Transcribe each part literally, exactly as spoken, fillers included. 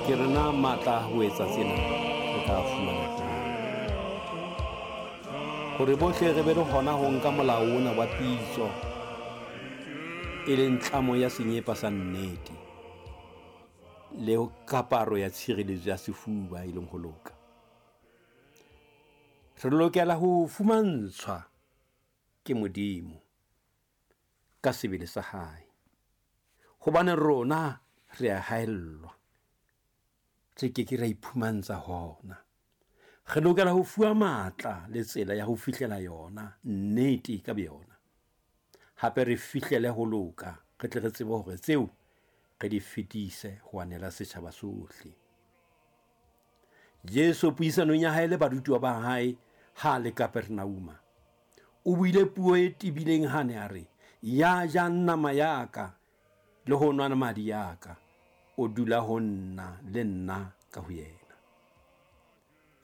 Ke re na matla a ho etsa tsena re tla fumana jwang? Hore bohle re be le hona ho nka molao ona wa pitso, e leng tlamo ya senyepa sa nnete, le kaparo ya tshireletso ya sefuba e leng ho loka. Re lokela ho fumantshwa ke Modimo ka sebele sa hae, hobane rona re a haellwa, re ke ke ra iphumantsha hona. Re lokela ho fuwa matla le tsela ya ho fihlela yona nnete ka boyona. Hape re fihlele ho loka, re tle re tsebe hore tseo re di fetise ho anela setjhaba sohle. Jesu puisanong ya hae le barutuwa ba hae ha le Kapernauma, o buile puo e tebileng ha ne a re, ya jang nama ya ka le ho nwa madi ya ka, o dula ho nna le nna ka ho yena.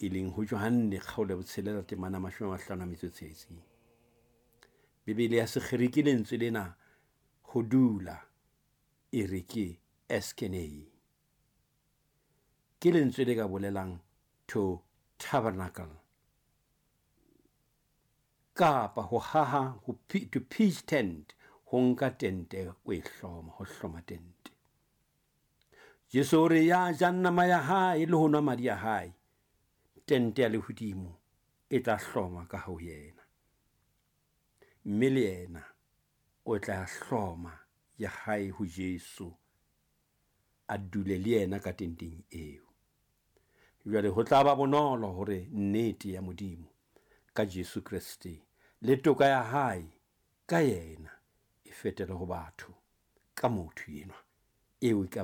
E leng ho Johanne kgaolo ya botshelela temana mashome a mahlano a metso e tsheletseng. Bibele ya Sekgerike lentswe lena ho dula e re ke eskenei. Ke lentswe le ka bolelang to tabernacle, kapa ho haha, ho to pitch tent, ho nka tente o e hloma, ho hloma tente. Jesu o re ya jang nama ya hae le ho nwa madi a hae, tente ya lehodimo e tla hloma ka ho yena. Mme le yena o tla hloma ya hae ho Jesu, a dule le yena ka tenteng eo. Jwale ho tla ba bonolo hore nnete ya Modimo ka Jesu Kreste le toka ya hae ka yena e fetele ho batho ka motho enwa eo e ka